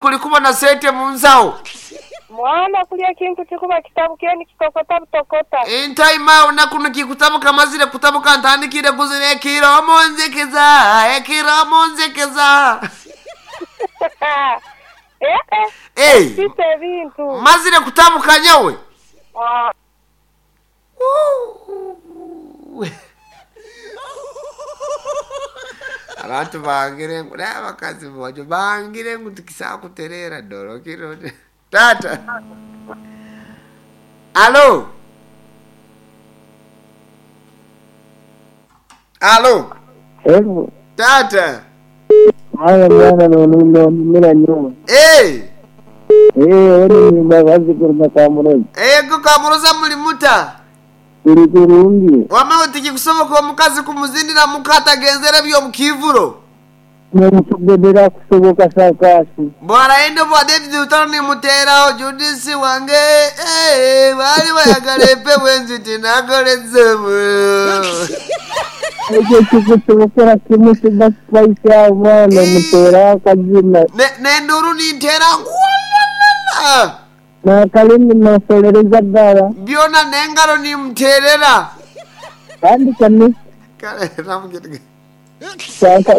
Kuli kubona sente mu nsawo. Mwana kulya ekintu kikuba kitabukire nikitokota butokota. Entaima nakuno kikutabuka mazire kutabuka ntandikire kuzira ekiro munzikiza ekiro munzikiza. Eh eh. Hey, Sisa ebintu. mazire kutabuka nyowe. Ah. Abantu bangire ngu naye abakazi bojo bangire ngu tikisakuterera doro kiro. Tata. Alo. Alo. Hello. Tata. Haya mwana nonumira nyuma. Hey. Eh, oni nimbabazi kuruga Kamurozi. Ego Kamuroza muli muta. Turi kurungi. Wama tikikusoboka omukazi kumuzindira mukatagenzera by'omukivuro. Nomutugodera kusoboka sakasi. Bwara endo bwa David Lutalo nimuteraho Judisi wange eh, bali bayagala empewo enziti nakolezemu. Ekyo kikusobokera kimu kiba spice awo mwana mutera akazina. Nenduru nintera walalala. N'akalimi nosolereza ddala. Byona n'engalo nimuterera. Kandi kane Kale namugete.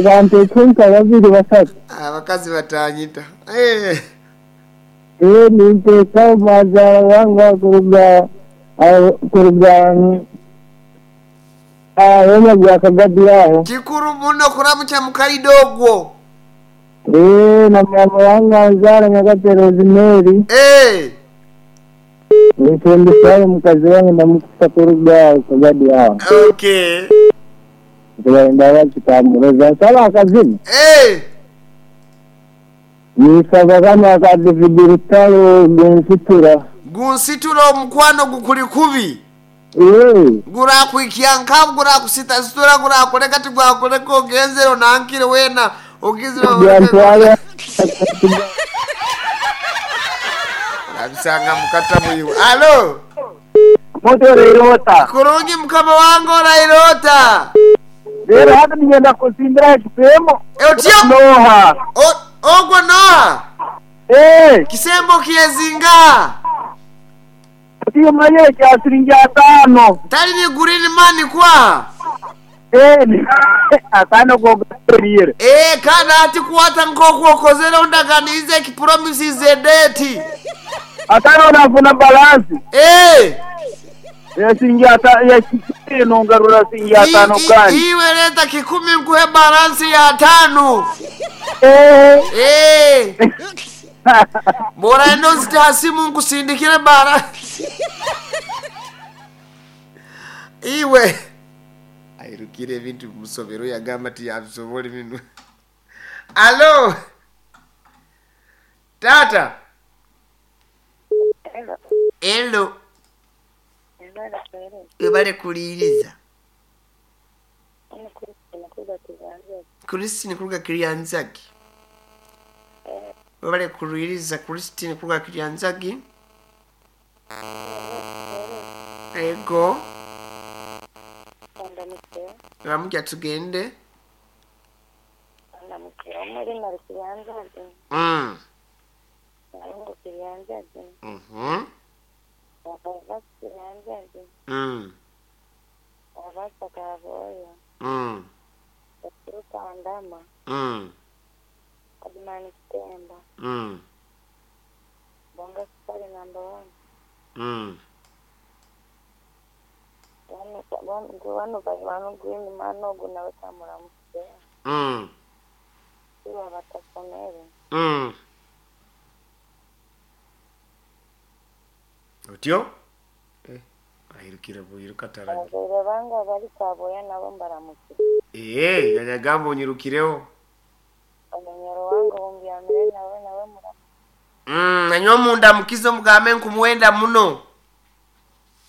banteeka nka babiri basatu. Abakazi batanyita. Eh. Eh, ninteeka mazaala wange kuruga kuruga wema gwa Kagadi aho. Kikuru muno kuramukya mukaido ogwo. Eh, na mama wange anzaara Nyakate Rosemary. Eh. Nifundishayo mukazi wange namukusa kuruga Kagadi aho. Okay. Tubaenda Kamuroza nsaba akazina. Eh. Nisaba kama aka David Lutalo gunsitura. Gunsitura omukwano gukuli kubi. Eh, Gurakwikya nkabu gurakusitasitura gurakuleka tigwakuleka ogenzere onankire wena ogizire byantwala abisanga mukata muyiwe. Alo. moto reirota. Kurungi mukama wange orairota. Rero hata nigenda kusimbira ekipemo. Otyo Noha. Ogwo noha. Eh, Kisembo kyezinga. tiyo manye kya siringi atano. Tali ni green man kwa. Eh, atano gogaterire. Eh, kana ati kuwata nkoku okozere ondaganize ekipromises edeti. Atano nafuna balance. Eh. Ya siringi atano ya kikumi nongarura siringi atano kandi. Iwe leta kikumi nkuhe balansi ya tano. Eh. Eh. Bora endo zitasimu nkusindikire bara. Iwe. Airukire ebintu musobero yagamba ti yabisobola bino. Alo. Tata. Hello. Hello. Ebala kwere. Webale kuliyiriza. Ono Christine kuga kiganza. Christine kuruga Kiryanzagi. Webale kuliyiriza Christine kuruga Kiryanzagi. Ego. Ndamutse. Ramujja tugende. Ndamutse. Omuli nali Kiryanzagi. Mm. Nalungu Kiryanzagi. Mhm. Abava Kiryanzagi. Mm. Abasa Kaboyo. Mm. Baturuka Ndama. Mm. Adimani Kitemba. Mm. Bonga Sukari number 1. Mm. Wano wano green man ogu nawe kamuramutse. Mm. Iwa batasomere. Mm. Otyo? Eh, ayirukira buyiruka taraji. Abazaire bange abali Kaboya nabo mbaramutse. Eh, yagamba onyirukireho. Omunyoro wange ombyamire nawe nawe muramutse. Mm, nanywa munda mukizo mugambe nkumuwenda muno.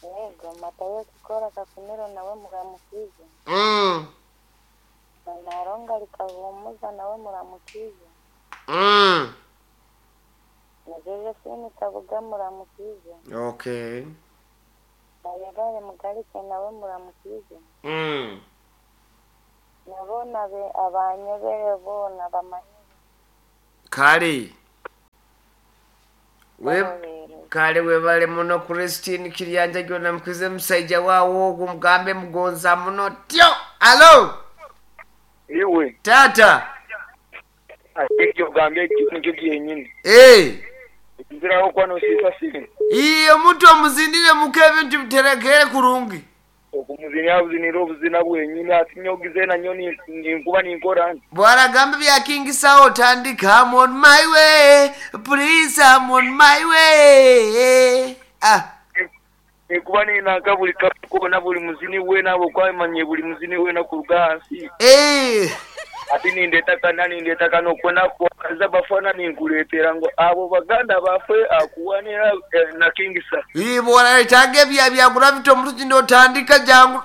Yego Matayo Kikora Kakumiro nawe muramukize. Mm. Naronga likahumuza nawe muramukize. Mm. Na Josephine Kabuga muramukize. Okay. Na Yabale Mugalike nawe muramukize. Mm. Nabona be abanyebere bona bamanyi. Kale. Kale webale muno Christine Kiryanja gyona mukuze musaija waawo ogwo mugambe mugonza muno tyo. Alo Iwe. Taata. Ate eky'ogambye ekyo nikyo kyenyini. Eeh. Nziragho okuba n'osiisa sente. Ii, omuntu omuzindire muka ebintu biterekeere kurungi. Okumuzinira buzinire obuzina bwenyini ati nyowe zeena nyowe ninkuba ninkora nti. Bw'aragamba ebya King Saha otandika I'm on my way, please I'm on my way ah. Ninkuba ninanka buli kabi koona buli muzini weena ahabw'okuba manyire buli muzini weena kuruga ahansi. Eeh. Ati nindeeta kana nindeeta kano kwona kwakaza bafana ninkuleetera ngu abo baganda bafe akuwanira na King Saha. Ii, bw'oraetaaga ebya bya Gravity Omutuki n'otandika jangu.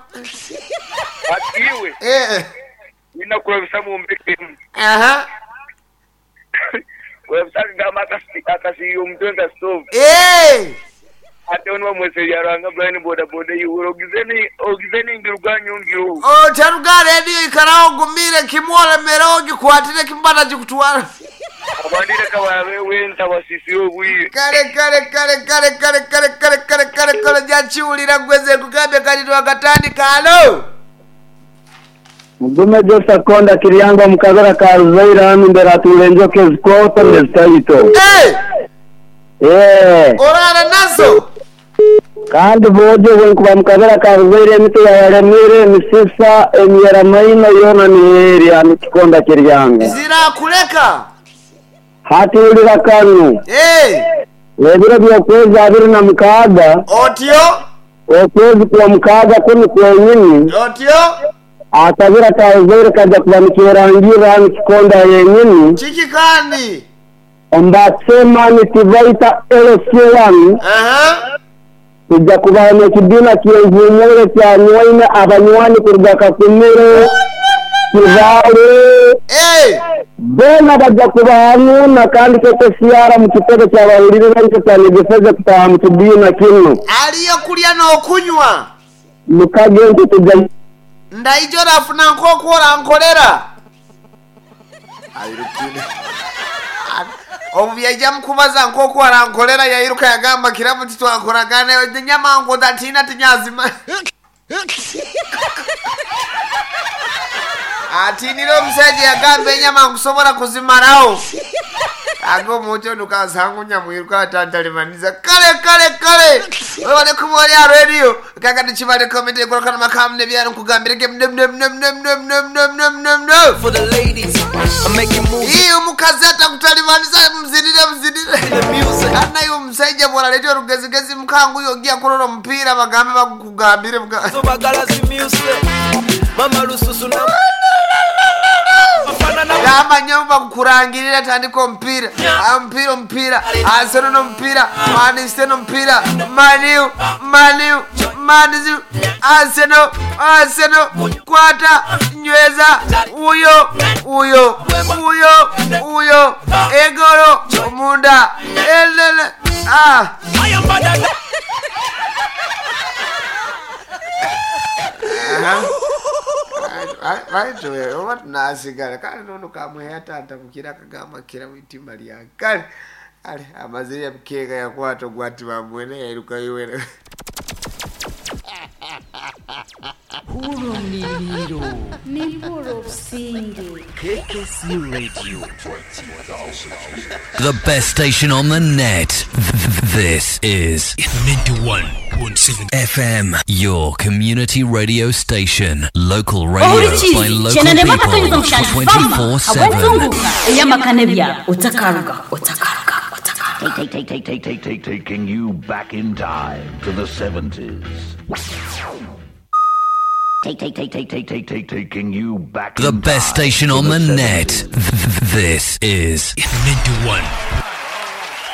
Ati iwe Eeh. Nina kurabisa mu mbeka emu. Aha. Kurabisa akagamba akasiiya omutwe nka sitoovu. Eeh. Ate onu bamwese Byaruhanga Brian bodaboda eihuro ogize ningiruga nyongire. Otaruga aha rediyo ikaraho ogumiire kimwe oremereho ogikwatire kimwe batagikutwara. Abandi leka barabe wenta basisire obwire. Kale kale kale kale kale kale kale kale kale kale oja kiwulira gwe nze nkugambye kati twakatandika halo. Mugume Joseph Konda Kiryanga omu kabira ka Ruzaire hanu mbere hatuura enjoka ezikooto n'ezitaito. Eeh! Eeh! Oraara nazo? Kandi boojo obwenkuba mu kabira ka Ruzaire emiti yayalemire, emisisa, emyeramaino yoona niyo eri hanu Kikonda Kiryanga. Zirakuleka? Hati wulira kanu. Eeh! Ebiro by'okwezi 26. Otyo? Okwezi kw'omukaaga kunu kwenyini. Otyo? Akabira ka Uzaire kaija kuba nikerangirra hanu Kikonda yenyini. Kiki kandi? Omu ba Chairman Tibaita LC1, Aha. Twija kubaho n'ekibiina ky'envuumuule kya Nywaine abanywani kuruga Kakumiro, Kibaale. Eeh! Boona baja kuba hanu na kandi KKCR mu kitebe ky'abahuliriza nikyo kyanyegeseze kutaaha mu kibiina kinu. Aliyo kulya n'okunywa. Mukage nti tuja. Ndaija orafuna nk'oku orankorera. Airukire. Obu byaija mukubaza nk'oku arankorera yairuka yagamba Kiramu titwakoragana enyama ngu otatiina tinyazima. Atiinire omusaija yagamba enyama nkusobora kuzimaraho. Aga omuntu onu kansangu nyamwiruka atantalimaniza. Kale kale kale webale kuba oli aha radio kakati kibale komenti enkorokana makamu nebyaro nkugambire ge For the ladies, I'm making moves Ii omukazi atakutalibanisa muzinire muzinire in the music. Kandi naye omusaija bworaleeta orugezigezi mukanguye ogiya kurora omupiira bagambe bakugambire So bagala zi music. Mama lususu na Bafana na Gamba nyowe bakukurangirira tandika omupiira Ah, omupiira omupiira Arsenal n'omupiira Man City n'omupiira Man U Man U Man U Arsenal Arsenal kwata nyweza uyo uyo uyo uyo egoro omunda elele ah. I am better than Baitu oba tunasigala kale nono kamweya taata mukira akagamba kira mwitima lyange kale kale amazire yabukeega yakwata ogwati bamwene yairuka iwere. Hurumiliro Nibura obusinge. KKC Radio. The best station on the net. This is 91.7 FM, your community radio station. Local radio by Ohurikizi local kyenarema people akatonyeza mushanju fama 24/7. habw'entunguka ey'amaka n'ebyaro otakaruga otakaruga otakaruga. Take, take, take, take, take, taking you back in time to the 70s. Take, take, take, take, take, take, take, taking you back The in best time station to on the the net. 70s. This is 91.